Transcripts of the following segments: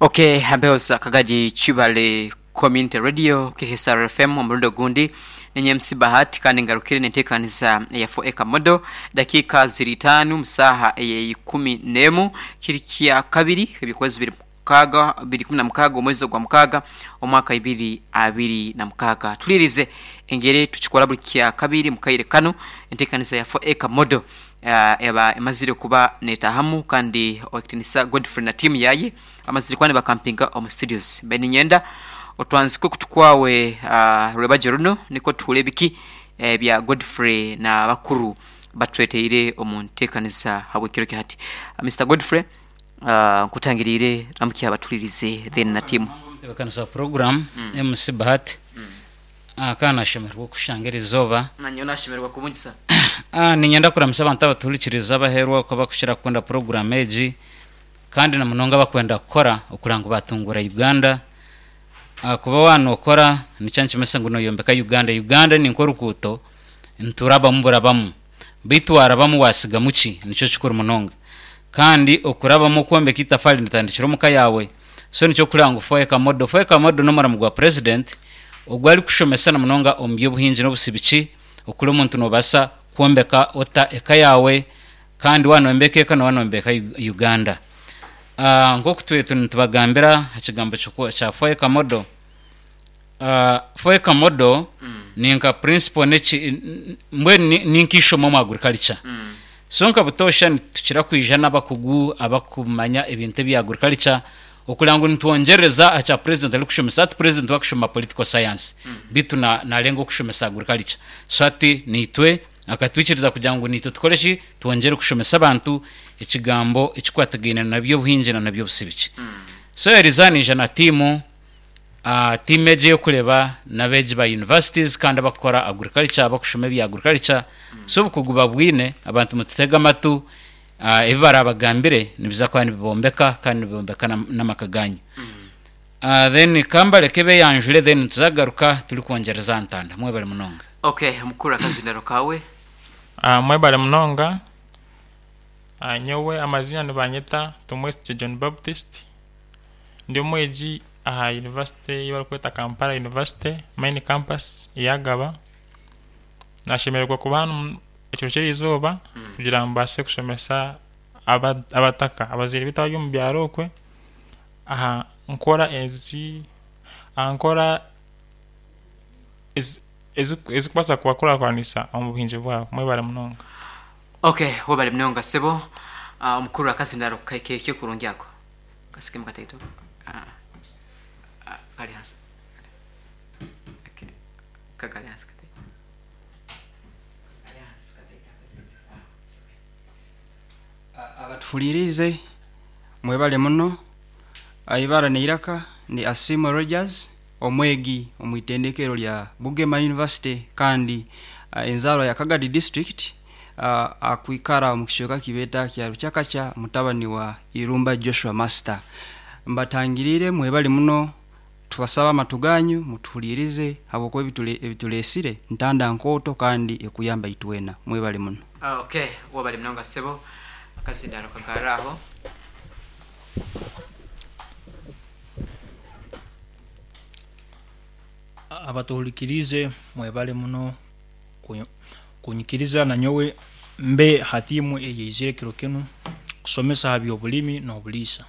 Ok Hampeho za Kagadi Kibale Community Radio KSR FM omurundi ogundi ninye MC Bahati kandi ngarukire nenteekaniza eya 4 Acre Model dakiika ziri itaanu mu saaha eyeikumi n'emu kiri kyakabiri ebyokwezi biri mukaaga biri ikumi na mukaaga omwezi ogwa mukaaga omwaka 2026 Tuliirize engeri tukikora buri kyakabiri mukaire kanu enteekaniza ya 4 Acre Model Eba emazire kuba netahamu kandi Owekitinisa Godfrey na tiimu yaye bamazire kuba nibakampinga omu studios. Mbaire ninyenda otwanzike okutu kwawe rwebagyo runo nikwo tuhure ebiki ebya Godfrey na bakuru batureteire omu ntekaniza habw'ekiro kya hati. Mister Godfrey nkutangiriire ramukya abatuhuririize then na tiimu. Omutebekanisa wa puroguramu MC Bahati Ka nashemererwa okukushanga eri izooba. Nanyowe nashemererwa kubungisa. Niinyenda kuramutsa abantu abatuhurikirize abaheerwa oku abakukira kukunda puroguraamu egi kandi na munonga abakwenda kukora okureba ngu baatunguura Uganda. Ahakuba waaba nookora nikyo nikimanyisa ngu nooyombeka Uganda. Uganda ni nk'oruguuto niturabamu burabamu beitu waarabamu waatsigamu ki? Nikyo kikuru munonga. Kandi okurabamu okwombeka eitafaari nitandikira omuka yaawe. So nikyo kureba ngu Foeka Model. Foeka Model n'omurimo gwa President ogu arikushomesa na munonga omu by'obuhingi n'obusibiki okuri omuntu noobaasa kwombeka ota eka yaawe kandi waaba nooyombeka eka nooba nooyombeka Uganda. Nk'oku twetwe nitubagambira aha kigambo kya Foeka Model, Foeka Model ni nka principle n'eki mbwenu ni nk'eishomo omu agriculture. So nka butoosha nitukira kwija n'abakugu abakumanya ebintu ebya agriculture okureba ngu nitwongyerereza aha kya president arikushomesa. Hati president we akushoma political science beitu narenga okushomesa agriculture. So hati naitwe akatwikiriza kugira ngu naitwe tukore ki? Twongyere kushomesa abantu ekigambo ekikwatagaine na by'obuhingi na n'eby'obusibiki. So Eliza naija na tiimu. Tiimu egi ey'okureeba n'abeegi ba universities kandi abakukora agriculture, abakushoma ebya agriculture. So obukugu babwine, abantu mututege amatu, ebi barabagambire nibiza kuba nibibombeka kandi nibibombeka n'amaka ganyu. Then ka mbareke beyanjure then nituza kugaruka turikwongyereza aha ntanda. Mwebare munonga. Ok mukuru akazindaro kawe. Mwebare munonga. Nyowe amaziina nibanyeta Tumwesigye John Baptist. Ndi omwegi aha yunivasite ei barikweta Kampala University main campus eya Gaba. Nashemererwa kuba hanu ekiro ky'erizooba kugira ngu mbaase kushomesa abataka, abazaire baitu abari omu byaro okwe aha nkora ezi aha nkora ezikubaasa kubakurakuranisa omu buhingi bwabo. Mwebare munonga. Ok webale munonga sebo. Omukuru akazindaro keke kurungi ako. Kasikemu kataito. Kari hansi. Okay. Kakari hansi kataito. Kari hansi kataito. Abatuhuriiriize mwebale muno. Eibara n'eiraka ni Asiimwe Rogers, omwegi omu itendekero rya Bugema University kandi enzaarwa ya Kagadi District. Akwikara omu kicweka ki beeta kya Rukyakakya mutabani wa Irumba Joshua Master. Mbatangiriire mwebale muno tubasaba amatu ganyu mutuhuliirize habwokuba ebitureesire ntanda nkooto kandi ekuyamba itwena. Mwebale muno. Ok webale munonga ssebo akazindaaro kagarre aho. Abatuhulikiriize mwebale muno kunyikiriza nanyowe mbe ha tiimu eyaizire kiro kinu kusomesa ha by'obulimi n'obuliisa.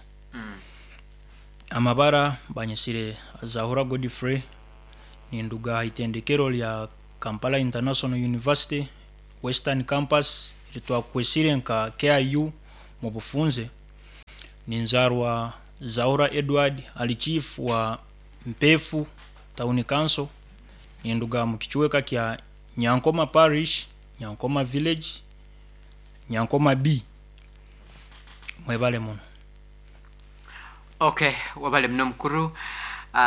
Amabara banyesire Zahura Godfrey, ninduga ha itendekero lya Kampala International University Western Campus eritwakwesire nka KIU mubufunze. Ninzaarwa Zahura Edward ali Chief wa Mpeefu Town Council. Ninduga mu kicweka kya Nyankoma Parish, Nyankoma Village, Nyankoma B. Mwebale muno. Ok webale muno mukuru.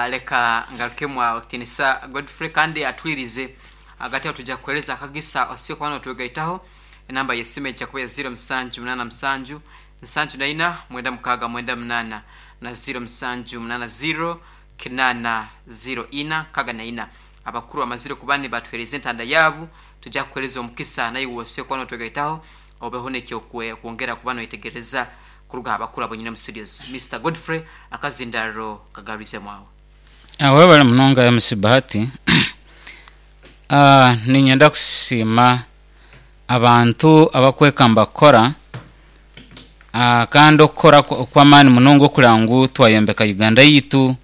Leka ngarukemu Owekitiinisa Godfrey kandi atuhuririze. Ahagati aho twija kukuheereza akagisa osobole kuba notwegaitaho. Enamba y'esimu eija kuba ya ziiro musanju munaana musanju, nsanju na ina, mwenda mukaaga mwenda munaana na ziiro musanju munaana ziiro, Kinaana, ziiro ina, nkaaga na ina. Abakuru bamazire kuba nibatuheereza entanda yaabu, twija kukuheereza omukisa naiwe osobole kuba notwegaitaho obeho n'eky'okwongera kuba noyetegereza. Kuruga aha bakuru abu nyine omu studios. Mister Godfrey akazindaaro kagarwizemu aho. Webale munonga MC Bahati. Niinyenda kusiima abantu abakwekamba kukora kandi okukora okw'amaani munonga okureba ngu twayombeka Uganda yaitu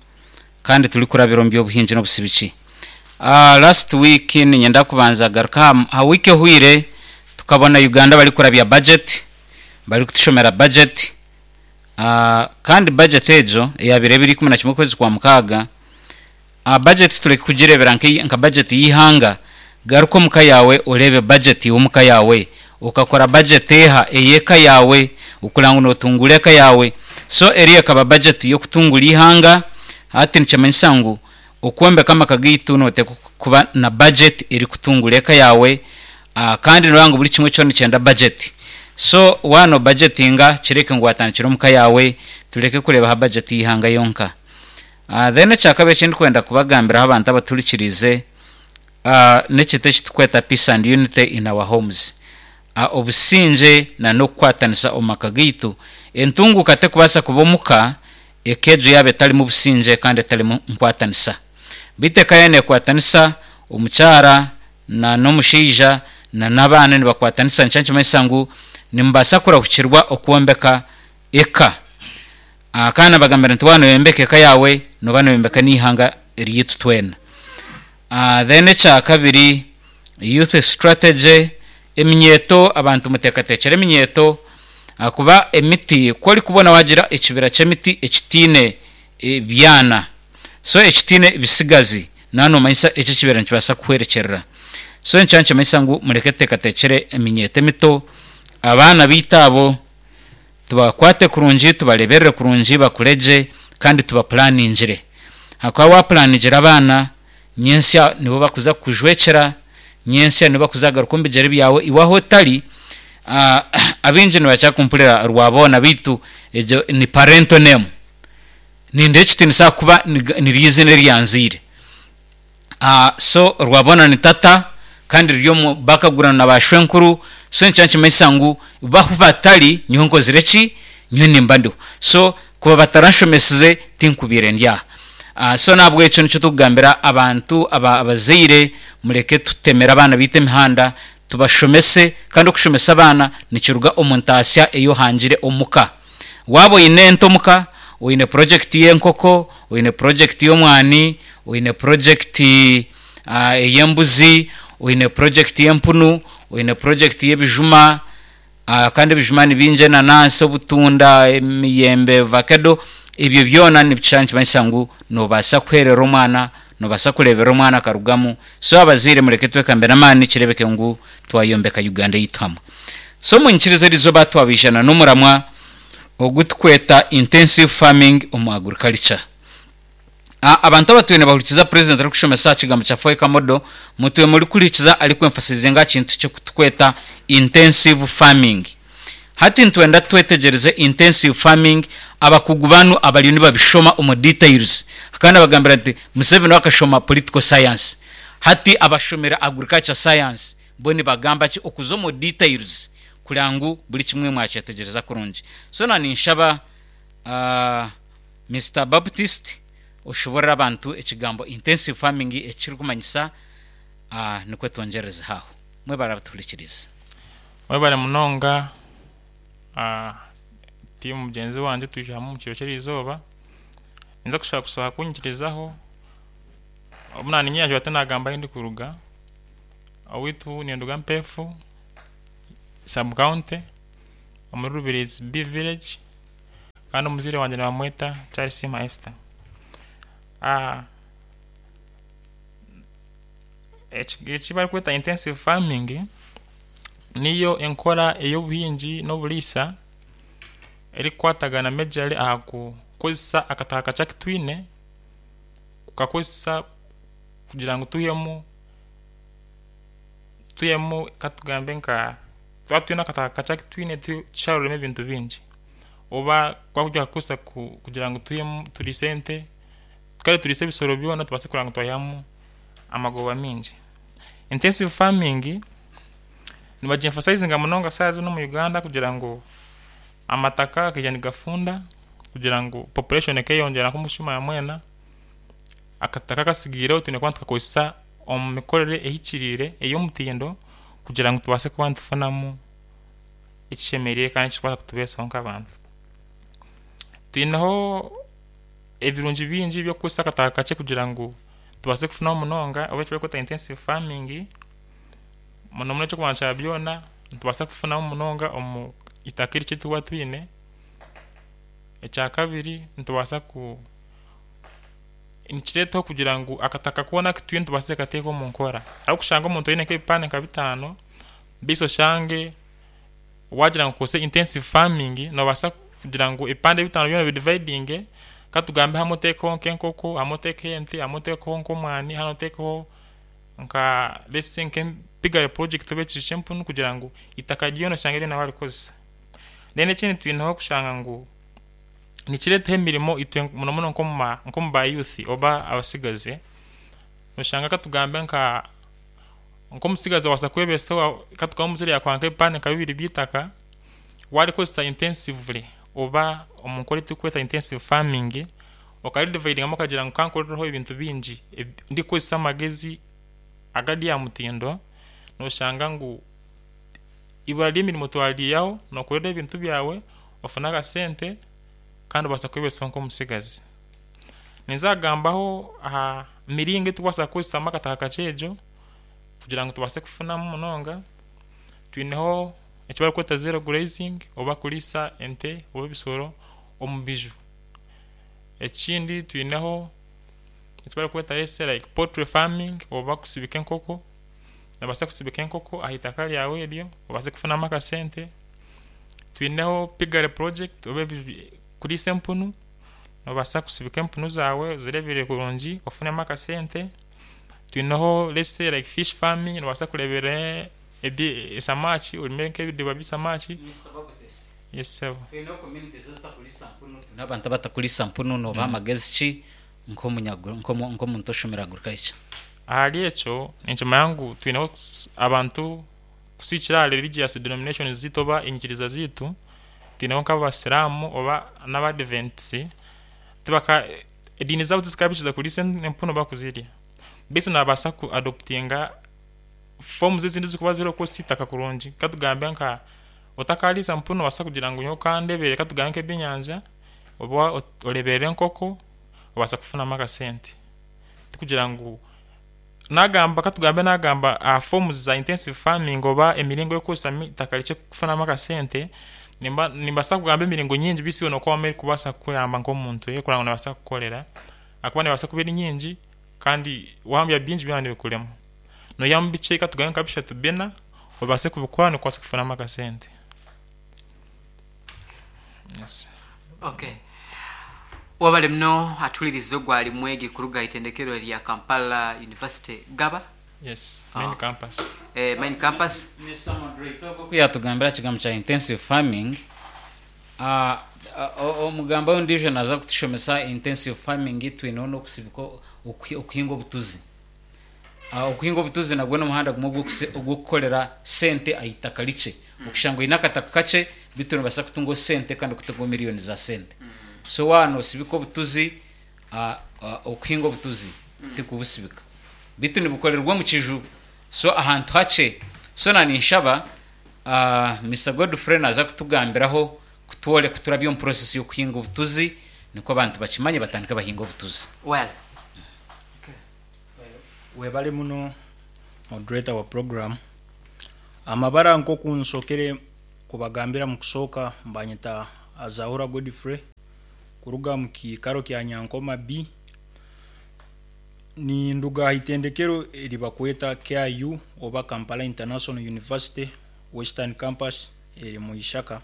kandi turikurabira omu by'obuhingi n'obusibiki. Last week niinyenda kubanza kugaruka aha wiiki ehweire tukabona Uganda barikurabya budget barikutushomera budget kandi budget egyo eyabaire ebiro 11 okwezi kwa mukaaga, budget tureke kugireebera nka budget y'eihanga, garuka omuka yaawe oreebe budget y'omuka yaawe, okakora budget eha ey'eka yaawe okureba ngu notunguura eka yaawe, so eriyo ekaba budget y'okutunguura eihanga, hati nikimanyisa ngu okwombeka amaka gaitu noteekwa kuba na budget erikutunguura eka yaawe kandi noreeba ngu buri kimwe kyona nikyenda budget so waaba no budgetinga kireke ngu watandikira omuka yaawe tureke kureeba aha budget y'eihanga yonka. Then ekyakabiri ekindikwenda kubagambiraho abantu abatuhurikiriize n'ekintu ekiturikweta peace and unity in our homes. Obusingye na n'okukwatanisa omu maka gaitu. Entunguuka tekubaasa kuba omuka eka egyo yaaba etarimu busingye kandi etarimu nkwatanisa. Beitu eka yaaba nekwatanisa, omukyara na n'omushaija na n'abaana nibakwatanisa nikyo nikimanyisa ngu nimubaasa kurahukirwa okwombeka eka. Kandi nabagambira nti waaba noyombeka eka yaawe nooba noyombeka n'eihanga ryaitu twena. Then ekyakabiri youth strategy, eminyeeto abantu muteekateekyere eminyeeto ahakuba emiti ku orikubona waagira ekibira ky'emiti ekitaine byana so ekitaine bisigazi nooba noomanyisa eki ekibira nikibaasa kuhwerekyerera. So nikyo nikimanyisa ngu mureke tuteekateekyere eminyeeto emito, abaana baitu abo Tubakwate kurungi, tubareberere kurungi bakure gye kandi tubapulaningire. Ahakuba wapulanigira abaana, nyentsya nibo bakuza kukujwekyera, nyentsya nibo bakuza kugaruka omu bigyere byawe iwe ahu otari. Abaingi nibakira kumpurira Rwaboona beitu egyo ni parental name. Nindeeba ekitiinisa ahakuba niryo eiziina eri yanzaire. So Rwabona ni tata kandi riri omu bakagurana na ba shwenkuru so nikyo nikimanyisa ngu bo ahu batari nyowe nkozire ki? Nyowe nimba ndiho. So kuba bataranshomesize tinkubaire ndi aha. So nahabwekyo nikyo turikugambira abantu abazaire mureke tutemere abaana baitu emihanda tubashomese kandi okushomesa abaana nikiruga omu ntaasya ei ohangire omuka. Waaba oine ente omuka, oine purojekiti y'enkoko, oine purojekiti y'omwani, oine purojekiti ey'embuzi, oine purojekiti y'empunu, oine purojekiti y'ebijuma, kandi ebijuma ni bingi enanansi, obutunda, emiyembe, vakedo, ebyo byona nikishusha nikimanyisa ngu noobaasa kuheerera omwana, noobaasa kureeberera omwana akarugamu. So abazaire mureke twekambe n'amaani kireebeke ngu twayombeka Uganda yaitu hamwe. So munyikirize eriizooba twabaijana n'omuramwa ogu tukweta Intensive Farming omu Agriculture. Abantu abatwire nibahurikiza President arikushomesa aha kigambo kya Foeka Model, mutwire murikuhurikiza arikwemphasizinga aha kintu ky'okutukweta Intensive Farming. Hati nitwenda twetegyereze Intensive Farming, abakugu banu abariyo nibabishoma omu details. Kandi nabagambira nti Museveni we akashoma Political Science, hati abashomire Agriculture Science bo nibagamba ki okuza omu details kureba ngu buri kimwe mwakyetegyereza kurungi. So na ninshaba Mister Baptist oshoborore abantu ekigambo intensive farming eki kirikumanyisa nikwo twongyererezeho aho. Mwebare abatuhurikiriize. Webare munonga tiimu mugyenzi wangye twija hamwe omu kiro ky'erizooba. Ninza kushaba kushaba kunyikirizaho obu naninye tinagamba ahu ndikuruga. Owaitu ninduga Mpeefu sub county omuri Rubirizi B village kandi omuzaire wangye nibamweta Charles Maester. Eki barikweta intensive farming niyo enkora ey'obuhingi n'oburiisa erikukwatagana majorly aha kukozesa akataka kakye aku twine kukakozesa kugira ngu twihemu twihemu katugambe nka twaba twine akataka kakye aku twine tusharuremu ebintu bingi oba twakukozesa kugira ngu twihemu turiise ente kare turiise ebisoro byona tubaase kureba ngu twaihamu amagoba maingi. Intensive farming nibagyemphasizinga munonga shaaha zinu omu Uganda kugira ngu. Amataka gaija nigafunda kugira ngu population ekeyongyera nk'omushuma mwena, akataka akasigaireho twine kuba nitukakozesa omu mikorere ehikiriire ey'omutindo kugira ngu tubaase kuba nitufunamu ekishemereire kandi ekirikubaasa kutubeesaho nk'abantu. Twineho ebirungi bingi eby'okukozesa akataka kakye kugira ngu tubaase kufunaho munonga oba ekibarikweta intensive farming, munomuno eky'okubanza kya byona nitubaasa kufunamu munonga omu itaka erikye eritukuba twine. Ekyakabiri nitubaasa ku nikireetaho kugira ngu akataka koona aku twine tubaase kukateeka omu nkora. Ahabw'okushanga omuntu aine nk'ebipande nka bitaano, beitu oshange waagira ngu okozese intensive farming noobaasa kugira ngu ebipande bitaano byona obidividinge, katugambe hamwe oteekeho nk'enkoko, hamwe oteekeho ente, hamwe oteekeho nk'omwani, ahandi oteekeho nka let's say nke piggery project oba ekiju ky'empunu kugira ngu eitaka ryona oshange ryona warikozesa. Then ekindi twineho kushanga ngu nikireetaho emirimo itwe munomuno nk'omu nk'omu ba youth oba abasigazi, noshanga katugambe nka nk'omusigazi obaasa kwebeesaho katugambe omuzaire yaakuha nk'ebipande nka bibiri by'eitaka, waarikozesa intensively oba omu nkora ei turikweta intensive farming, okaridividingamu okagira ngu kankorereho ebintu bingi ndikukozesa amagezi agari aha mutindo, nooshanga ngu ibura ry'emirimo twariihaho, nookorera ebintu byawe, ofune akasente kandi obaasa kwebeesaho nk'omutsigazi. Ninza kugambaho aha miringo ei turikubaasa kukozesamu akataka kakye egyo kugira ngu tubaase kufunamu munonga, twineho eki barikweta zero grazing oba kuriisa ente oba ebisoro omu biju. Ekindi twineho eki barikweta let's say like poultry farming oba kusibika enkoko, noobaasa kusibika enkoko aha itaka ryawe eryo obaase kufunamu akasente. Twineho piggery project oba kuriisa empunu, noobaasa kusibika empunu zaawe ozireeberere kurungi ofunemu akasente. Twineho let's say like fish farming, noobaasa kureeberera esamaaki orime nk'ebidiba by'esamaaki. Yes sebo. N'abantu abatakuriisa mpunu noobaha amagezi ki nk'omuntu oshomire agriculture? Ahari ekyo ninkimanya ngu twineho abantu kusigikiirira aha religious denominations zeitu oba enyikiriza zeitu, twineho nk'abasiraamu oba n'abadventisi, tibaka ediini zaabo tizikabaikiriza kuriisa empunu oba kuzirya. Beitu naabaasa ku adoptinga forms ezindi ezirikuba ziriho kukozesa eitaka kurungi, katugambe nka otakariisa mpunu noobaasa kugira ngu nyowe kandeeberere katugambe nk'ebyenyanja oba oreeberere enkoko obaasa kufunamu akasente. Tikugira ngu naagamba katugambe naagamba aha forms za intensive farming oba emiringo ey'okukozesamu eitaka rikye kufunamu akasente, nimba nimbaasa kugamba emiringo nyingi beitu iwe nookoramu erikubaasa kukuyamba nk'omuntu ei orikureeba ngu neebaasa kukukorera ahakuba neebaasa kuba eri nyingi kandi waahambya bingi byaba nibikurema. Noihamu bikye katugambe nka bishatu bina obaase kubikora nikwo obaase kufunamu akasente. Yes. Okay. Wabale muno atuhulirize ogwo ali mwegi kuruga aha itendekero erya Kampala University Gaba. Yes, main Ah. campus. Eh, main campus. Mister Moderator, ogwo ku yaatugambira aha kigambo kya intensive farming, ah, omugambi ondiijo naaza kutushomesa intensive farming twineho n'okusibika okuhinga obutuzi. Okuhinga obutuzi nagwo n'omuhanda gumwe ogw'okukorera sente aha itaka rikye. Okushanga oine akataka kakye beitu noobaasa kutungaho sente kandi okutungaho miriyoni za sente. So waaba noosibika obutuzi, okuhinga obutuzi tikubusibika beitu nibukorerwa omu kiju so ahantu hakye. So naninshaba Mister Godfrey naaza kutugambiraho kutworeka kuturabya omu process y'okuhinga obutuzi nikwo abantu bakimanye batandike bahinge obutuzi. Well. Webale muno moderator wa program. Amabara nkoku nsokere kubagambira mukusooka mbanyeta Azahura Godfrey kuruga mukiikaro kya Nyankoma B. Ninduga aha itendekero eri bakweta KIU oba Kampala International University Western Campus eri mu Ishaka.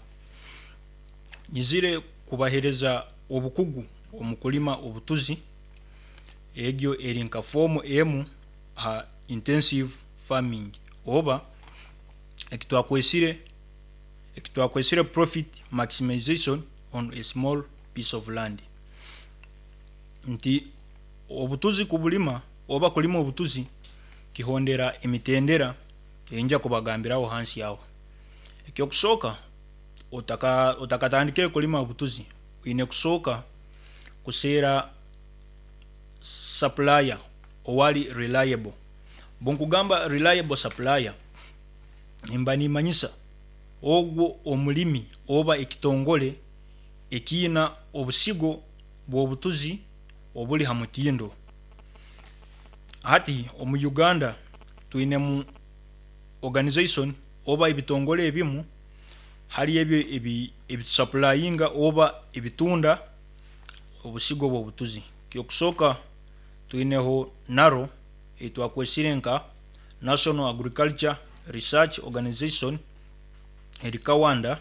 Nyizire kubahereza obukugu omu kulima obutuzi. Egyo eri nka foomu emu aha intensive farming oba ekitwakwesire ekitwakwesire profit maximization on a small piece of land. Nti obutuzi kubulima oba kulima obutuzi kihondera emitendera eyinja kubagambiraho hansi aho. Ekyokusooka. Otaka otakatandikire kulima obutuzi, oine kusooka kuseera supplier owari reliable. Bwenkugamba reliable supplier, nimba nimanyisa ogwo omurimi oba ekitongore ekiina obusigo bw'obutuzi oburi ha mutindo. Hati omu Uganda twinemu organization oba ebitongore ebimu hali ebyo ebitusapurayinga oba ebitunda obusigo bw'obutuzi. Eky'okusooka twineho NARO ei twakwesire nka National Agriculture Research Organization eri Kawanda.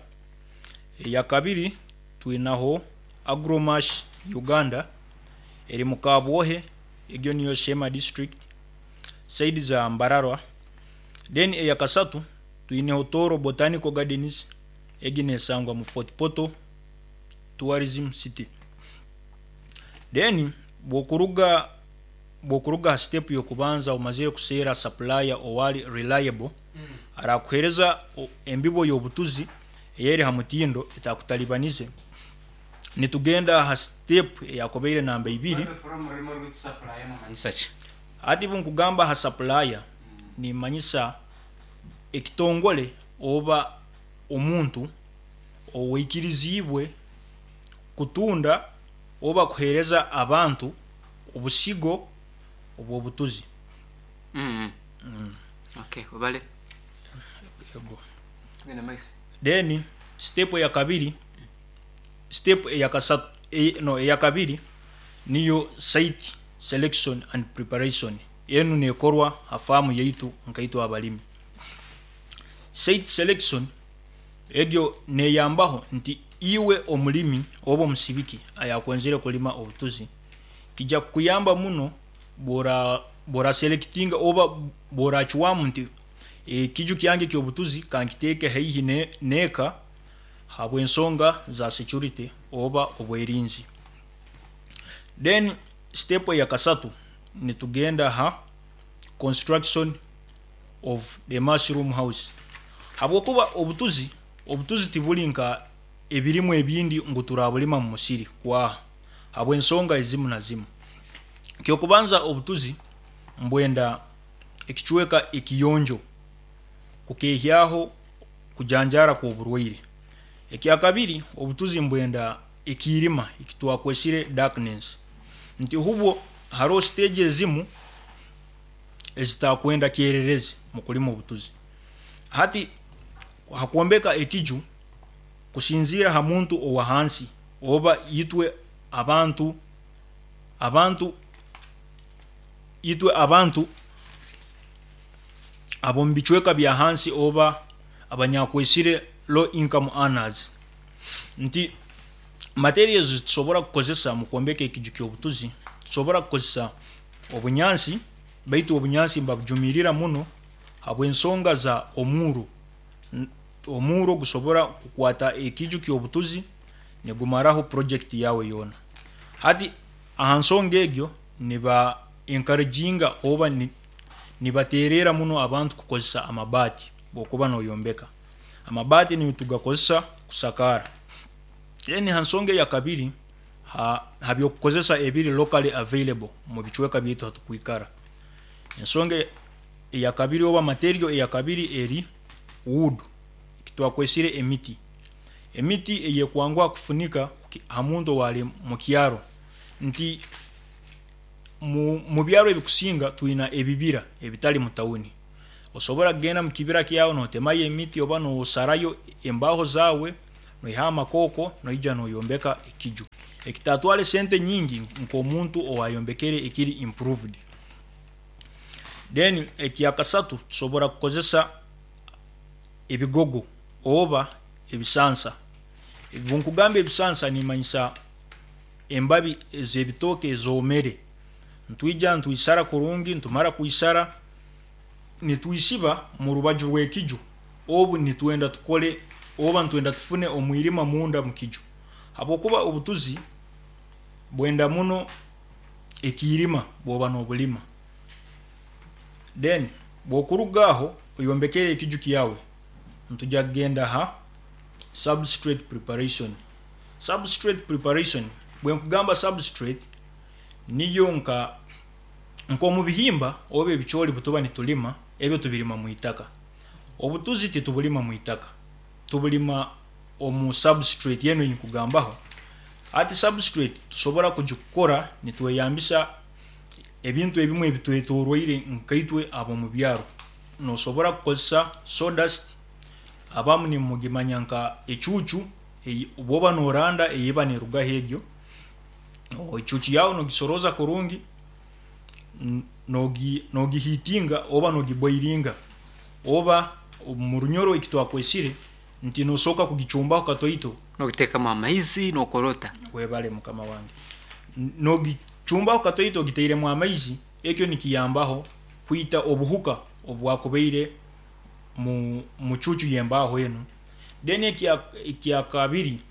Eyakabiri twinaho Agromash Uganda eri mu Kabwohe egyo niyo Sheema District sayidi za Mbarara. Then eyakasatu twineho Tooro Botanical Gardens egi nesangwa mu Fort Portal Tourism City. Then bwokuruga bwokuruga aha step yokubanza omazire kuseera supplier owari reliable arakuhereza embibo yobutuzi eyeri ha mutindo etakutalibanize, nitugenda aha step eyakubaire namba ibiri. Hati obunkugamba aha supplier nimanyisa ekitongore oba omuntu owaikiriziibwe kutunda oba kuheereza abantu obusigo obw'obutuzi. Okay, webale. Tugende mumaiso. Then step eyakabiri, step eyakasatu, no eyakabiri niyo site selection and preparation. Enu nekorwa ha faamu yaitu nkaitwe abalimi. Site selection egyo neyambaho nti iwe omulimi oba omusibiki ayakwenzire kulima obutuzi, kija kukuyamba muno bw'oraselectinga oba bw'oracwamu nti ekiju kyange eky'obutuzi kankiteeke haihi n'eka habw'ensonga za security oba obwerinzi. Then step eyakasatu nitugenda ha construction of the mushroom house habwokuba obutuzi, obutuzi tiburi nka ebirimwa ebindi ngu turabulima mu musiri kwaha habw'ensonga ezimu na zimu. Eky'okubanza obutuzi mbwenda ekicweka ekiyonjo kukehyaho kujanjaara kw'oburwaire. Ekyakabiri obutuzi mbwenda ekiirima ekitwakwesire darkness nti hubwo haroho siteegi ezimu ezitakwenda kyererezi mu kulima obutuzi. Hati ha kwombeka ekiju kusinziira ha muntu owa hansi oba itwe abantu abantu itwe abantu ab'omu bicweka bya hansi oba abanyakwesire low income earners nti materials ezitusobora kukozesa mu kwombeka ekiju ky'obutuzi, tusobora kukozesa obunyansi baitu obunyansi nibabujumirira muno habw'ensonga za omuuro. Omuuro gusobora kukwata ekiju ky'obutuzi nigumaraho project yaawe yoona. Hati aha nsonga egyo niba encouraginga oba nibateererra muno abantu kukozesa amabaati bw'okuba noyombeka. Amabaati nigo tugakozesa kusakaara. Then ha nsonga eyakabiri, ha ha by'okukozesa ebiri locally available omu bicweka byaitu hatukwikara. Ensonga eyakabiri oba material eyakabiri eri wood, ekitwakwesire emiti. Emiti eyekwanguha kufunika ha muntu owari mu kyaro nti mu mu byaro ebikusinga twina ebibira ebitari mu tawuni. Osobora kugenda mu kibira kyawe notemayo emiti oba nosarayo embaho zaawe noihaho amakooko noija noyombeka ekiju ekitatwara esente nyingi nk'omuntu owayombekere ekiri improved. Then ekyakasatu tusobora kukozesa ebigogo oba ebisansa. Obunkugamba ebisansa nimanyisa embabi ez'ebitooke ezoomere. Nitwija nitwisara kurungi, nitumara kwisara nitwisiba mu rubaju rw'ekiju obu nitwenda tukole oba nitwenda tufune omwirima munda mu kiju habwokuba obutuzi bwenda muno ekiirima bwoba nobulima. Then bwokuruga aho oyombekere ekiju kyawe, nitujya kugenda ha. Substrate preparation. Substrate preparation, bwenkugamba substrate niyo nka nk'omu bihimba oba ebicoori butuba nitulima, ebyo tubirima mu itaka. Obutuzi titubulima mu itaka, tubulima omu substrate enu eyinkugambaho. Hati substrate tusobora kugikora nitweyambisa ebintu ebimwe ebitwetoroire nkaitwe ab'omu byaro. Nosobora kukozesa sawdust, abamu nimugimanya nka ecuucu, bwoba noranda eyeba nerugaho egyo, ecuucu yaawe nogisorooza kurungi, nogihiitinga oba nogiboiringa, oba omu Runyoro eki twakwesire nti nosooka kugicumbaho katoito. Nogiteekamu amaizi nokora ota? Webale mukama wange. Nogicumbaho katoito ogitairemu amaizi, ekyo nikiyambaho kwita obuhuka obwakubaire mu cuucu y'embaaho enu. Then ekyakabiri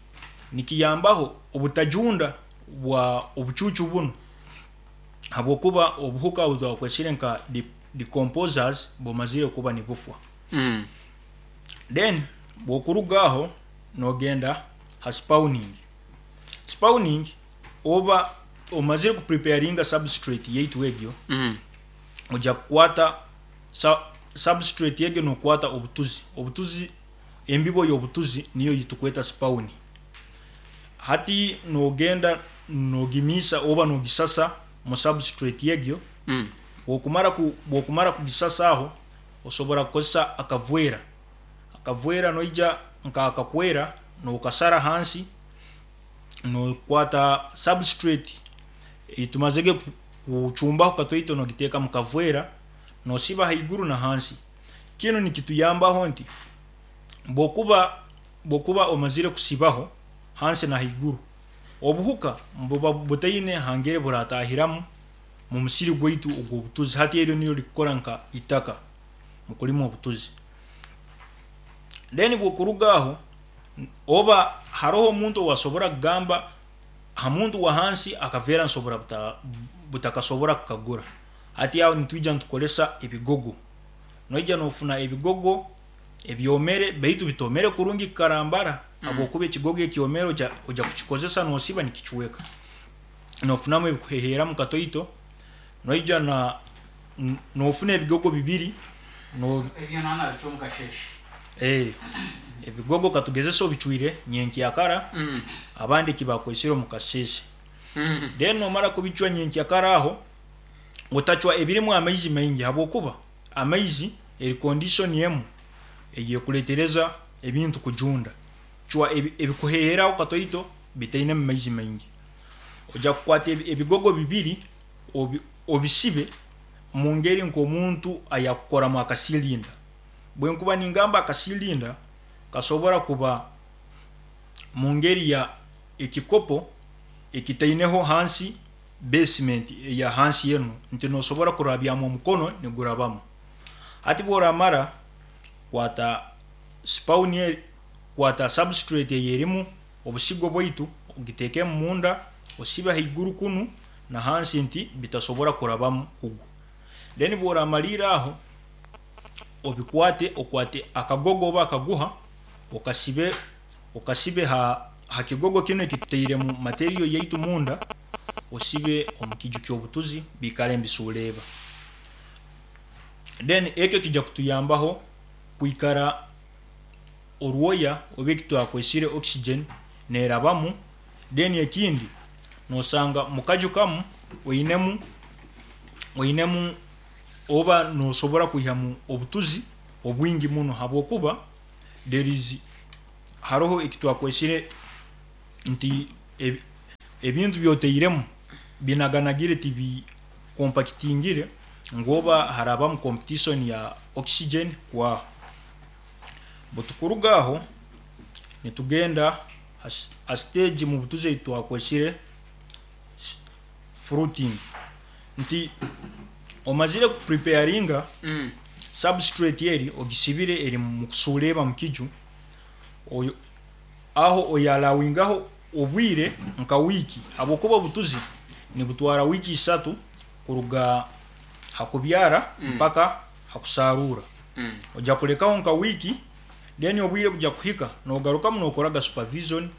nikiyambaho obutajunda bwa obucuucu bunu habwokuba obuhuka obu twakwesire nka decomposers bumazire kuba nibufwa. Then bwokuruga aho nogenda ha spawning. Spawning oba omazire ku preparinga substrate yaitu egyo, oja kukwata substrate egyo nokwata obutuzi, obutuzi embibo y'obutuzi niyo eyitukweta spawn. Hati nogenda nogimiisa oba nogisasa mu substrate egyo, bwokumara kugisasa aho, osobora kukozesa akavwera. Akavwera noija nka akakwera nokasara hansi, nokwata substrate eyitumazire kucumbaho katoito nogiteeka mu kavwera, nosiba haiguru na hansi. Kinu nikituyambaho nti bwokuba omazire kusibaho hansi na haiguru, obuhuka nibuba butaine hangeri buratahiramu mu musiri gwaitu ogw'obutuzi. Hati eryo niryo rikukora nka itaka mu kulima obutuzi. Then bwokuruga aho, oba haroho omuntu owasobora kugamba ha muntu wa hansi akaveera nsobora butakasobora kukagura. Hati aho nitwija nitukoresa ebigogo. Noija nofuna ebigogo ebyomere baitu bitomere kurungi kukarambara habwokuba ekigogo ekyomere oja kukikozesa nosiba nikicweka. Nofunamu ebikuheheramu katoito, noija na nofuna ebigogo bibiri ebigogo katugezese obicwire nyenkyakara abandi ekibakwesire omu kasese. Then nomara kubicwa nyenkyakara aho, otacwa ebirimu amaizi maingi habwokuba amaizi eri condition emu eyekuretereza ebintu kujunda. Cwa ebikuheheraho katoito bitainemu maizi maingi. Oja kukwata ebigogo bibiri obisibe omu ngeri nk'omuntu ayakukoramu akasilinda. Bwenkuba ningamba akasilinda, kasobora kuba mu ngeri ya ekikopo ekitaineho hansi basement eya hansi enu nti nosobora kurabyamu omukono nigurabamu. Hati bworamara kwata spawn kwata substrate eyerimu obusigo bwaitu ogitekemu munda osibe haiguru kunu na hansi nti bitasobora kurabamu kugwa. Then bworamaliira aho obikwate okwate akagogo oba akaguha okasibe okasibe ha kigogo kinu ekitutairemu material yaitu munda osibe omu kiju ky'obutuzi biikare nibisuureeba. Then ekyo kija kutuyambaho kwikara orwoya oba ekitwakwesire oxygen nerabamu. Then ekindi nosanga mukaju kamu oinemu oinemu oba nosobora kwihamu obutuzi obwingi muno habwokuba there is haroho ekitwakwesire nti ebintu byotairemu binaganagire tibi compakitingire ngu oba harabamu competition ya oxygen kwaho. Bwetukuruga aho nitugenda ha stage mubutuzi eyitwakwesire fruiting nti omazire ku preparinga substrate eri ogisibire eri mukusureeba mukiju, aho oyalawingaho obwire nka wiiki habwokuba obutuzi nibutwara wiiki isatu kuruga ha kubyara mpaka ha kusarura. Oja kulekaho nka wiiki. Then obwire bujya kuhika nogarukamu nokoraga supervision,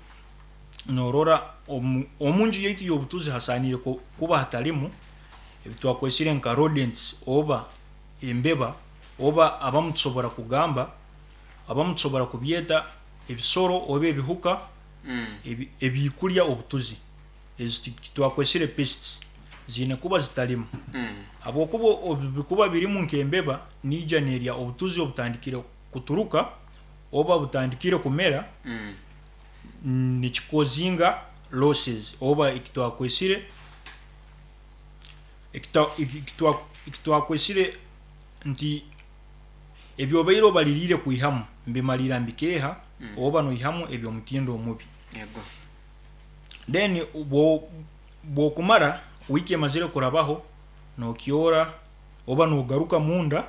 norora omunju yaitu y'obutuzi hasaaniire kuba hatarimu ebitwakwesire nka rodents oba embeba, oba abamu tusobora kugamba, abamu tusobora kubyeta ebisoro oba ebihuka ebikurya obutuzi. Ezi twakwesire pests ziine kuba zitarimu, habwokuba obu bikuba birimu nk'embeba niija nerya obutuzi obutandikire kuturuka oba butandikire kumera, nikikozinga losses oba ekitwakwesire ekitwakwesire nti ebyobaire obaririire kwihamu nibimarira nibikeeha oba noihamu eby'omutindo omubi. Then bwokumara wiiki emazire kurabaho nokyora oba nogaruka munda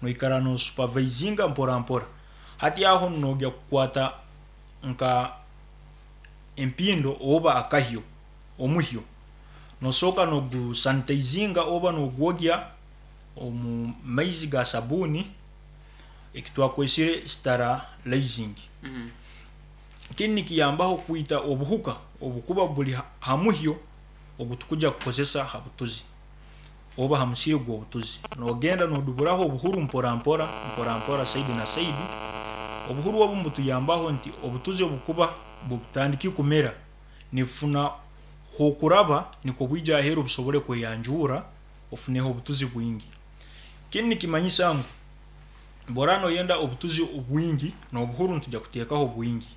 noikara no supervisinga mpora mpora. Hati aho nogya kukwata nka empindo oba akahyo, omuhyo, nosooka nogu sanitizinga oba nogwogya omu maizi ga sabuuni ekitwakwesire sterilizing. Kinu nikiyambaho kwita obuhuka obukuba buri ha muhyo ogutukugya kukozesa ha butuzi oba ha musiri gw'obutuzi. Nogenda noduburaho obuhuru mpora mpora, mpora mpora saidi na saidi. Obuhuru obu nibutuyambaho nti obutuzi obukuba butandikire kumera nibufuna h'okuraba nikwo bwija aheeru busobole kweyanjuura ofuneho obutuzi bwingi. Kinu nikimanyisa ngu bworaba noyenda obutuzi bwingi n'obuhuru nitwija kuteekaho bwingi.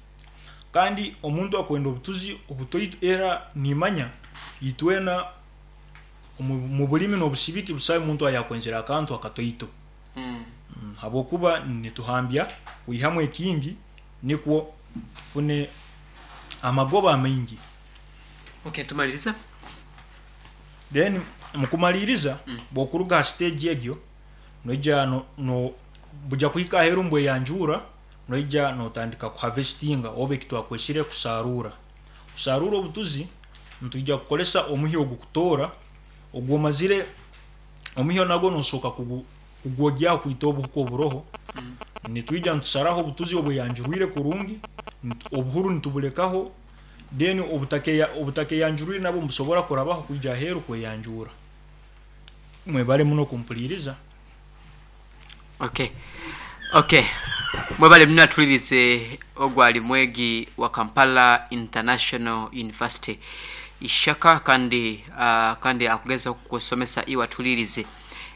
Kandi omuntu akwenda obutuzi obutoito era nimanya itwena omu bulimi n'obusibiki busaho muntu ayakwenzire akantu akatoito, habwokuba nituhambya kwihamu ekingi nikwo tufune amagoba amaingi. Okay, tumaliriza. Then mukumaliriza bwokuruga ha stage egyo noija no buja kuhika aheru nibweyanjuura noija notandika ku harvestinga oba ekitwakwesire kusaruura. Kusaruura obutuzi nitwija kukoresa omuhyo ogukutoora ogwomazire, omuhyo nagwo nosooka kugwogyaho kwita obuhuka oburoho. Nitwija nitusaraho obutuzi obweyanjurwire kurungi, obuhuru nitubulekaho then obutakeyanjurwire nabwo nibusobora kurabaho kwija aheru kweyanjuura. Mwebale muno kumpuriiriza. Okay. Okay. Mwebale muno atulirize ogu ali mwegi wa Kampala International University Ishaka kandi uh, kandi akugezaho kukusomesa iwe atulirize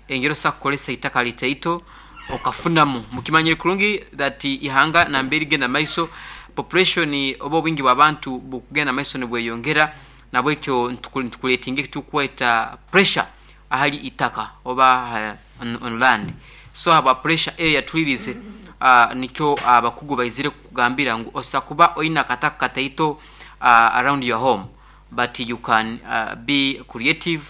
engeri osobola kukoresa itaka litaito okafunamu. Mukimanyire kurungi that ihanga nambere rigenda maiso population oba obwingi bw'abantu bukugenda maiso nibweyongera, nabwekyo nitukuretinga ekitukweta pressure ahari itaka oba on land. So ahabwa pressure eyo yatwirize nikyo abakugu baizire kukugambira ngu osobola kuba oine akataka kataito around your home but you can be creative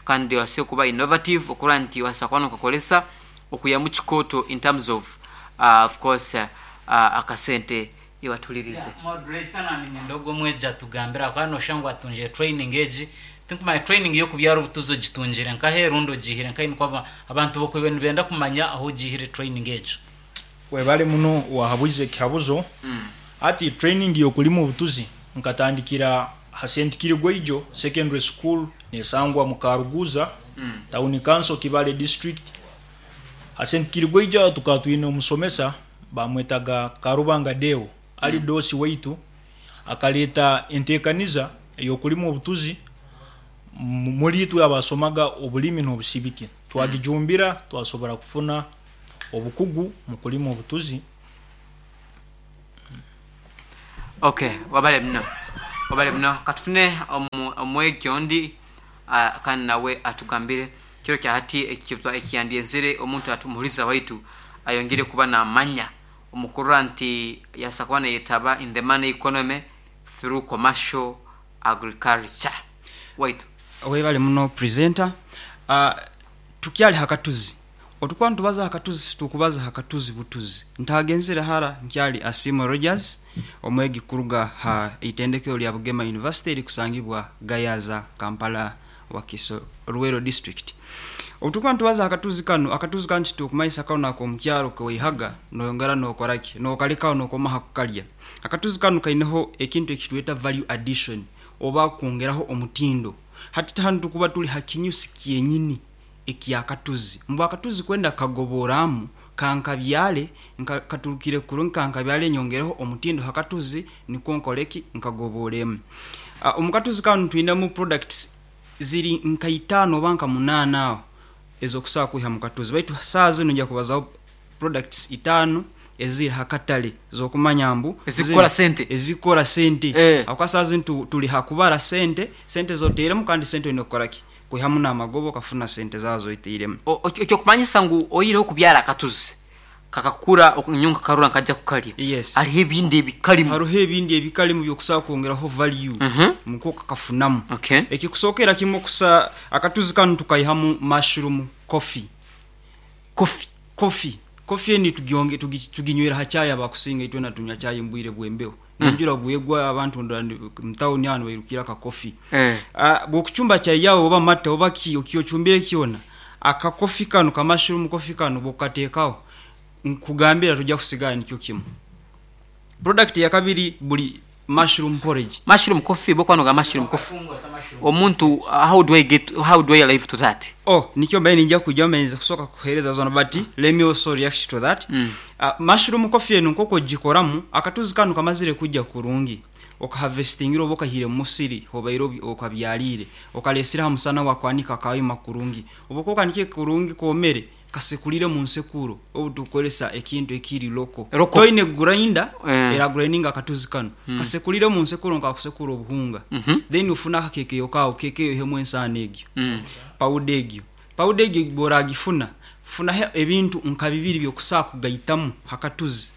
kandi obaase kuba innovative okurora nti obaasa kuba nokakoresa okwihamu kikooto in terms of of course akasente iwe atuhuririze. Moderator na niinyenda ogwo omwegi atugambire ahakuba noshusha ngu atungire training egi, tinkumanya training y'okubyara obutuzi ogitungire nkahe rundi ogiihire nkahi nikwo abantu bokwiba nibenda kumanya ahu ogiihire training egyo. Webale muno wahabuize ekihabuzo. Hati training y'okulima obutuzi nkatandikira ha Saint Kirigweijo Secondary School nesangwa mu Karuguza Town Council Kibale District. Ha Saint Kirigweijo aho tukaba twine omusomesa Baamwetaga Karubanga Deo, ali doosi waitu, akaleeta enteekaniza ey'okulima obutuzi muli itwe abaasomaga obulimi n'obusibiki. Twagijumbira twasobora kufuna obukugu mu kulima obutuzi. Ok, wabale muno, wabale muno. Katufune omwegi ondi kandi nawe atugambire kiro kya hati ekiyandyenzire omuntu omuhuriza waitu ayongere kuba namanya omu kurora nti yabaasa kuba nayetaba in the money economy through commercial agriculture. Waitu. Webale muno presenter. Tukyali ha katuzi. Otukuba nitubaza ha katuzi situkubaza ha katuzi butuzi. Ntagenzire hara nkyali Asiimwe Rogers omwegi kuruga ha itendekero lya Bugema University erikusangibwa Gayaza, Kampala, Wakiso, Luwero District. Obu turikuba nitubaza aha katuzi kanu, akatuzi kanu titukumanyisa kanu ak'omukyaro kewaihaga noyongera nokora ki? Nokalekaho nokoma aha kukarya. Akatuzi kanu kaineho ekintu eki tweta value addition oba kwongeraho omutindo. Hati hanu tukuba turi ha kinyusi kyenyini eky'akatuzi. Mbu akatuzi kwenda kukagoboramu kankabyare nka katurukire kurungi kankabyare nyongereho omutindo ha katuzi nikwo nkore ki? Nkagoboremu. Omu katuzi kanu twinemu products ziri nka itaano oba nka munaana aho ez'okusobola kwiha mu katuzi baitu saaha zinu nja kubazaho products itaano eziri ha katale z'okumanya mbu Ezikukora sente. ezikukora sente Eh. ahabw'okuba saaha zinu tu- turi ha kubara sente, sente z'otairemu kandi sente oine kukora ki? Kwihamu n'amagoba okafuna sente zaawe z'otairemu. O- Eky'okumanyisa ngu oihireho kubyara akatuzi, kakakura nyowe nkakarora nkajja kukarya. Yes. Hariho ebindi ebikarimu. Haruho ebindi ebikarimu by'okusobola kwongeraho value nikwo okakafunamu. Okay. Ekikusookera kimwe okusa akatuzi kanu tukaihamu mushroom coffee. Coffee. Coffee. Coffee eni tugyonge tugi tuginywera ha chai abakusinga itwena tunywa chai mu bwire bw'embeho. Enjura bwegwa abantu ndora mu town aho nibairukira aka coffee. Eh. Bw'okucumba chai yawe oba mata oba ki okyocumbire kyona, aka coffee kanu ka mushroom coffee kanu bw'okukateekaho, nkugambira toija kusigara nikyo kimu. Product eyakabiri buri mushroom porridge. Mushroom coffee bwokuba nogamba mushroom coffee omuntu how do I get how do I arrive to that? Oh nikyo mbaire ninja kwijaho mbaire ninza kusooka kukuhereza zona but let me also react to that. Mushroom coffee enu nkoku ogikoramu, akatuzi kanu kamazire kugya kurungi, okaharvestingire oba okaihire mu musiri hobaire okabyariire, okaresire aha musana wakwanika kayoma kurungi. Obu okuba okanikire kurungi komere, Kasekurire mu nsekuro obu tukukoresa ekintu ekiri local. Local. Toine grinder Eh. era grindinga akatuzi kanu. Kasekurire mu nsekuro nkakusekura obuhunga. Then ofune akakekeyo kawe, kekeyo oihemu ensaano egyo. Powder egyo. Powder egyo bworagifuna, funaho ebintu nka bibiri byokusobola kugaitamu hakatuzi.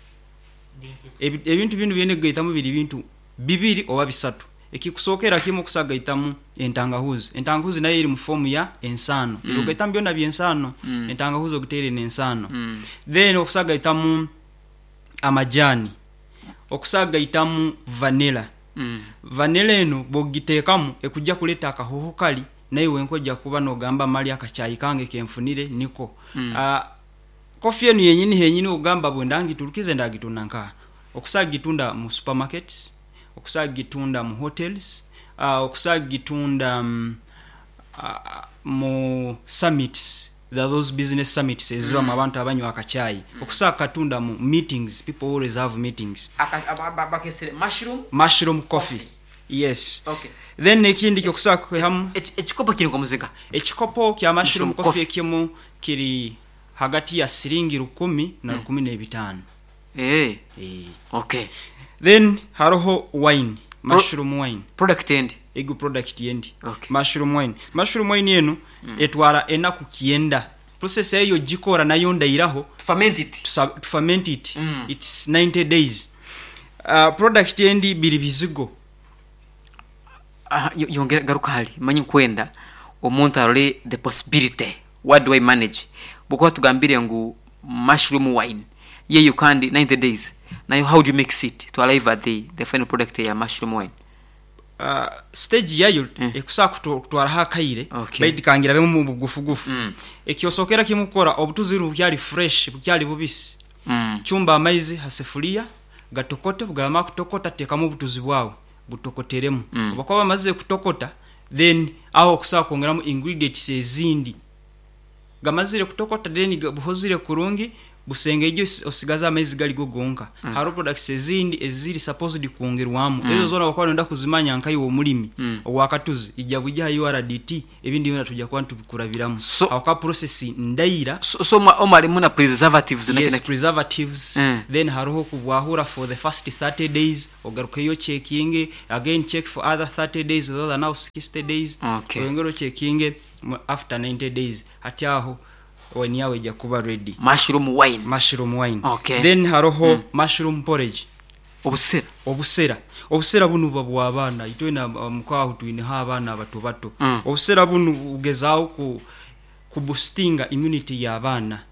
Ebintu binu byoine kugaitamu biri bintu bibiri oba bisatu. Ekikusookera kimwe okusa gaitamu entangahuzi. Entangahuzi nayo eri mu form ya ensaano. Ebi ogaitamu byona by'ensaano. Entangahuzi ogiteire n'ensaano. Then okusa gaitamu amajaani, okusa gaitamu vanilla. Vanilla eno bw'ogiteekamu ekuja kuleta akahooho kari naiwe wenka oja kuba nogamba mali akachai kange kenfunire niko. Kofi enu yenyini henyini ogamba bwenda ngiturukize ndagitunda nkaha? Okusa gitunda mu supermarkets, okusa gitunda mu hotels, okusa gitunda mu summits, there are those business summits ezibamu abantu abanywa akachai, okusa katunda mu meetings, people always have meetings. Bakesere mushroom Mushroom coffee. Yes. Then ekindi ekyokusa kwihamu. Ekikopo kiri nkomuziga? Ekikopo kya mushroom coffee ekimu kiri hagati ya siringi rukumi na rukumi n'ebitaano. Eeh Eeh. okay. Then haroho wine, mushroom wine. Product endi? Ego product endi. Okay. Mushroom wine. Mushroom wine enu etwara enaku kyenda. Process yayo ey'ogikora nayo ndairaho. To ferment it. To ferment it. It's 90 days. Product endi biri bizigo. Aha, yongera garuka hali manya nkwenda omuntu arole the possibility what do I manage bwokuba tugambire ngu mushroom wine yeyo kandi 90 days nayo how do you mix it to arrive at the, the final product eya mushroom wine? Stage yayo ekusobola kutwaraho akaire Okay. baitu kangirabemu omu bugufugufu. Eky'osookera kimwe kukora obutuzi bunu bukyali fresh, bukyali bubisi, cumba amaizi ha sefuriya gatokote, obugaramara kutokota teekamu obutuzi bwawe butokoteremu. Obu bakuba bamazire kutokota then aho okusobola kwongeramu ingredients ezindi. Gamazire kutokota then buhozire kurungi, busengeije osigaze amaizi gari go gonka. Haroho products ezindi eziri supposed kwongerwamu. Ezo zona obu okuba noyenda kuzimanya nkaiwe omurimi owakatuzi, ija bwija aha URDT ebindi byona twija kuba nitubikurabiramu. So, Habwokuba process ndaira. So, so omwo harimu na preservatives naki Yes, naki. preservatives, then haroho okubwahura for the first 30 days, ogarukeyo ocekinge, again check for other 30 days, those are now 60 days, Okay. oyongere ocekinge after 90 days. Hati aho wine yawe eija kuba ready. Mushroom wine. Mushroom wine. Okay. Then haroho mushroom porridge. Obusera. Obusera. Obusera bunu buba bwa baana. Itwena omuka aho twineho abaana abato bato. Obusera bunu bugezaaho ku kubustinga immunity y'abaana.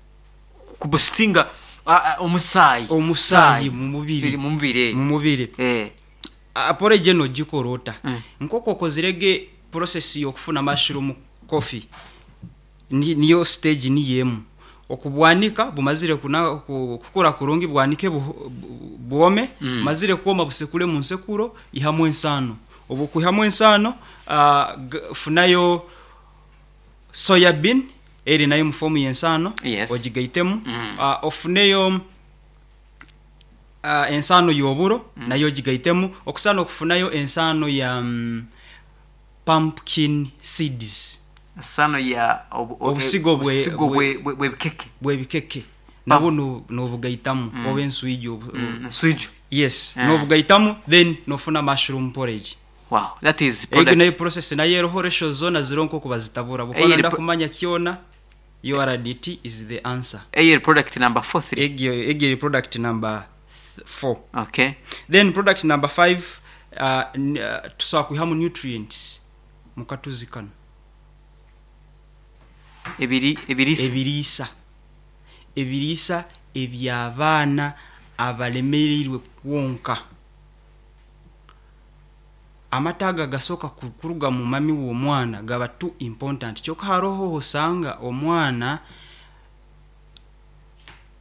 Kubustinga omusaayi. Omusaayi mu mubiri. Mu mubiri. Mu mubiri. Eh. Porridge eno ogikora ota? Nk'oku okozire ge process y'okufuna mushroom coffee. Niyo stage niyo emu. Okubwanika bumazire kukura kurungi bwanike bwome, bumazire kwoma busekure mu nsekuro ihamu ensaano. Obu okwihamu ensaano, funayo soya bean eri nayo omu form y'ensaano ogigaitemu, ofuneyo ensaano y'oburo nayo ogigaitemu, okusaana okufunayo ensaano ya pumpkin seeds. Ensaano ya Obusigo obusigo bw'ebikeke. Bw'ebikeke nabwo nobugaitamu oba enswijo. Enswijo. Yes, nobugaitamu then nofuna mushroom porridge. Wow, that is Egyo product. nayo process nayo eriho ratios zoona ziriho nk'oku bazitabura. Bwokuba Eyo eri noyenda kumanya kyona, URDT is the answer. Eyo eri product number 4 3. Egyo egyo eri product number 4. Okay. Then product number 5 tusobola kwihamu nutrients mu katuzi kanu. Ebiri ebiriisa. Ebiriisa. Ebiriisa eby'abaana abalemereirwe kwonka. Amata ago agasooka kuruga mu mami w'omwana gaba too important kyoka haroho obu osanga omwana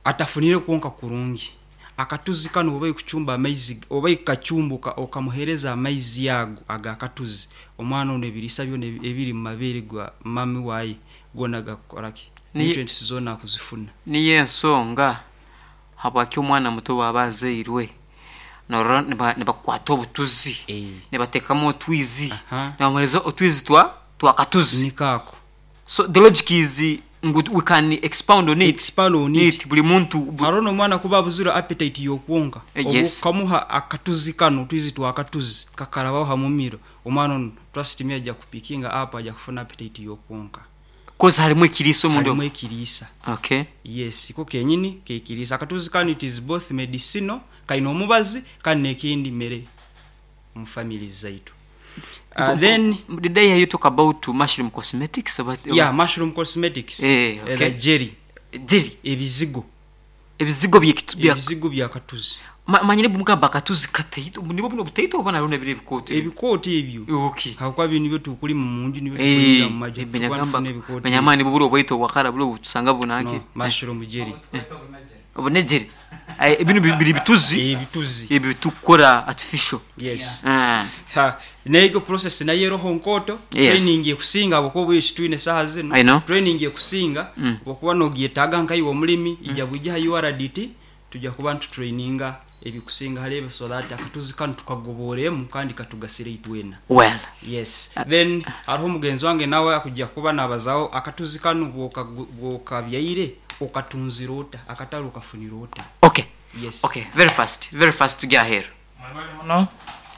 atafunire kwonka kurungi. Akatuzi kanu obu oikucumba amaizi, obu oikukacumba okamuheereza amaizi ago ag'akatuzi, omwana onu ebiriisa byona ebiri mu mabeere ga mami waaye goona gakukora ki? Nutrients zoona akuzifuna. Niyo ensonga habwaki omwana muto bwaba azairwe norora nibakwata obutuzi nibatekamu otwizi nibamuhereza otwizi twa twakatuzi. Niko ako. So the logic is ngu we can expound on it. Expound on it. Buri muntu. Haroho n'omwana kuba abuzire appetite y'okwonka, obu okamuha akatuzi kanu, otwizi twakatuzi kakarabaho ha mumiro, omwana onu trust me aija kupikinga up aija kufuna appetite y'okwonka. Coz harimu ekiriisa omunda Harimu ekiriisa. Okay. Yes, iko kenyini k'ekiriisa. Akatuzi kanu it is both medicinal, kaine omubazi kandi n'ekindi mere omu families zaitu. Then. Did I hear you talk about mushroom cosmetics oba? Yeah, mushroom cosmetics, Eh, okay. the jelly. Jelly. Ebizigo. Ebizigo bya. Ebizigo bya katuzi. Manyire bumugamba akatuzi kataito, nibwo buno obutaito oba nabwo nabiri ebikooto? Ebikooto ebyo. Okay. Habwokuba binu nibyo tukulima omunju nibyo tukulimira mu maju tukuba nitufuna ebikooto. Manya amaani nibwo buri obwaito obwakara buri obutusanga bunanki. No, mushroom jelly. Obunegyere. Binu biri bituzi. Ebituzi. Ebi tukukora artificial. Yes. Ha, n'egyo process nayo eroho nkooto, Yes. training ekusinga habwokuba obwire titwine saaha zinu. I know. Training ekusinga obwokuba nogyetaaga nkaiwe omulimi, ija bwija ha URDT tuja kuba nitutraininga ebikusinga hali ebyo so that akatuzi kanu tukagobooremu kandi katugasire itwena. Well. Yes. Then haroho mugenzi wange nawe akuja kuba nabazaho akatuzi kanu bwokabyaire okatunzire ota, akatare okafunire ota. Okay. Yes. Okay, very fast, very fast tugye aheeru. Mwebale muno.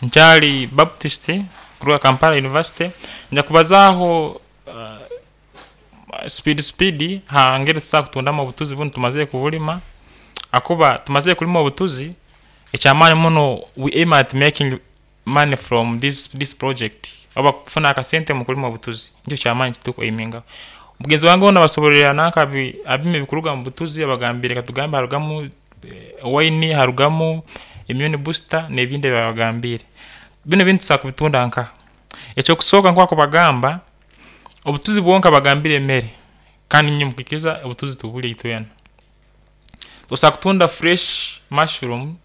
Nkyali Baptist kuruga Kampala University. Nja kubazaaho speed speed ha ngeri tusobola kutundamu obutuzi bunu tumazire kubulima. Hakuba tumazire kulima obutuzi, eky'amaani muno we aim at making money from this this project oba kufuna akasente mu kulima obutuzi nikyo ky'amaani eki turukwaimingaho. Mugenzi wange onu abasobororra nanka abime ebikuruga mu butuzi abagambire katugambe harugamu wine, harugamu immune booster n'ebindi ebi abagambiire. Binu ebintu tusobola kubitunda nkaha? Eky'okusooka nk'oku akubagamba, obutuzi bwonka bagambire emere kandi inywe mukwikiriza obutuzi tubulya itwena. Osobola kutunda fresh mushroom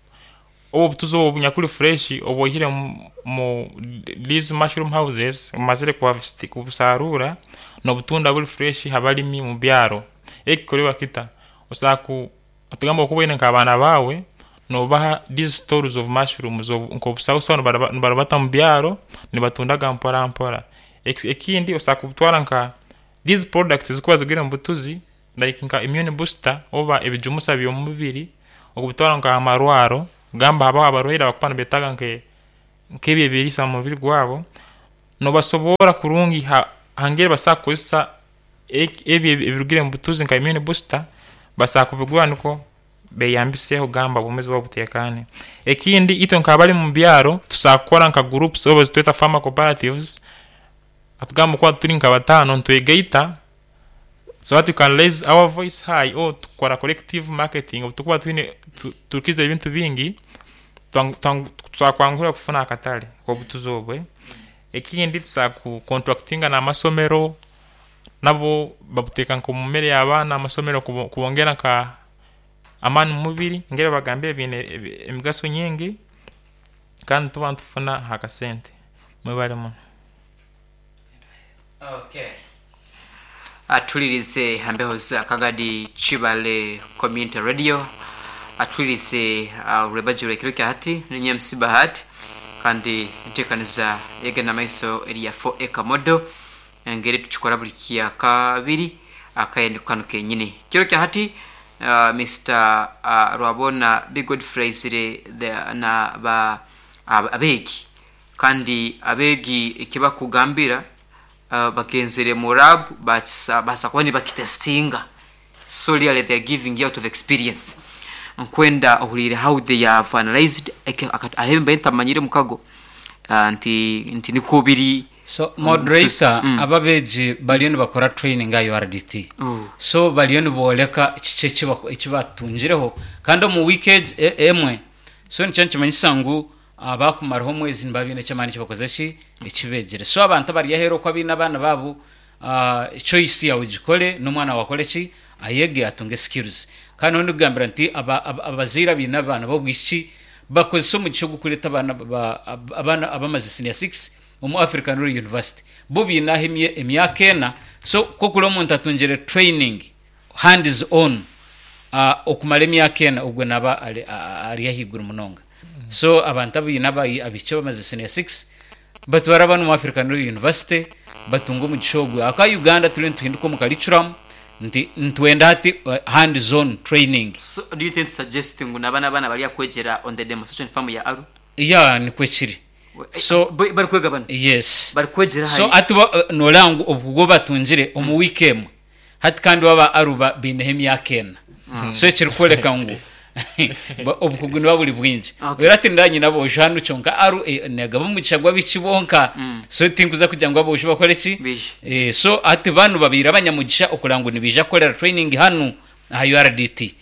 obu obutuzi obu obunyakuli fresh obu oihire mu these mushroom houses omazire kubusaruura n'obutunda buli fresh habalimi mubyaro. Eki kikolerwa kita? Osobola ku tugambe obu okuba oine nk'abaana baawe, noobaha these stores of mushrooms nk'obusahusahu nibarubata mubyaro nibatundaga mpora mpora. Ekindi osobola kubutwara nka these products ezikuba zirugire mubutuzi like nka immune booster oba ebijumusa by'omubiri okubitwara nka hamarwaro gamba habaho abarwaire abakuba nibetaaga nk'ebi ebiriisa mumubiri gwabo, nobasoborra kurungi ha ngeri basobola kukozesa ebi ebirugire mubutuzi nka immune booster, basobola kubigura nikwo beyambiseho gamba obwomezi bwabo butekaane. Ekindi itwe nk'abalimi mubyaro tusobola kukora nka groups oba ezitweta farmer cooperatives, katugambe obu tukuba turi nka bataano nitwegaita so that we can raise our voice high or tukora collective marketing obu tukuba twine turukiza ebintu bingi tusobola kwanguhirwa kufuna akatale k'obutuzi obu. Ekindi tusobola ku contractinga n'amasomero. Nabwo babuteeka nk'omu mere y'abaana aha masomero kubongera nka amaani omu mubiri engeri bagambire biine emigaso nyingi kandi nituba nitufuna aha kasente. Mwebare muno. Okay. Atulirize hambeho za Kagadi Chibale Community Radio atulirize rwebagiro ekiro kya hati ninye MC Bahati kandi ntekaniza yegenda maiso eri ya 4 acre model engeri tukikora buli kyakabiri akaende kano kenyini kiro kya hati Mr Rwabona B Godfrey aizire na ba abeegi kandi abeegi ekibakugambira bagenzere mu lab baasa kuba nibakitestinga so really they are giving out of experience nkwenda ohuriire how they have analyzed ahu mbaire ntamanyire mukago nti nti nikwo biri. So moderator aba abeegi bariyo nibakora training aha URDT so bariyo niboreka kiki ekibatungireho kandi omu week emwe so nikyo nikimanyisa ngu Baakumaraho omwezi nibaba baine eky'amaani eki bakoze ki? Eki beegire. So abantu abari aheeru okwo abaine abaana baabo, choice yaawe gikore n'omwana waawe akore ki? Ayege atunge skills. Kandi nyowe ndikugambira nti abazaire abaine abaana b'obwishiki bakozese omugisha ogu kureeta abaana abaana abamaze senior six omu African Royal University. Bo baine aho emyaka ena, so ku okureba omuntu atungire training hands on okumara emyaka ena ogwo naba ari ahaiguru munonga. So abantu abaine abaishiki abamaze senior six batware abaana omu African Royal University batunge omugisha ogwo. Ahakuba Uganda turiyo nituhinduka omu curriculum nti nitwenda hati hands on training. So do you intend to suggest ngu naba n'abaana bari akwegyera on the demonstration farm ya Aru? Yeah nikwo kiri. So Barikwega banu? Yes. Barikwegyera So ahi? hati bo noreeba ngu obukugu obu batungire omu week emwe Hati kandi bo aba Aruba baineho emyaka ena. So ekirikworeka ngu obukugu nibuba buri bwingi. Okay. Reero hati nindaba nyine aboojo hanu kyonka Aru eh, negaba omugisha gw'abaishiki bonka. So tinkuza kugira ngu aboojo bakore ki? Baije. Eh, so hati banu babaire abanyamugisha okureba ngu nibaija kukorera training hanu aha URDT.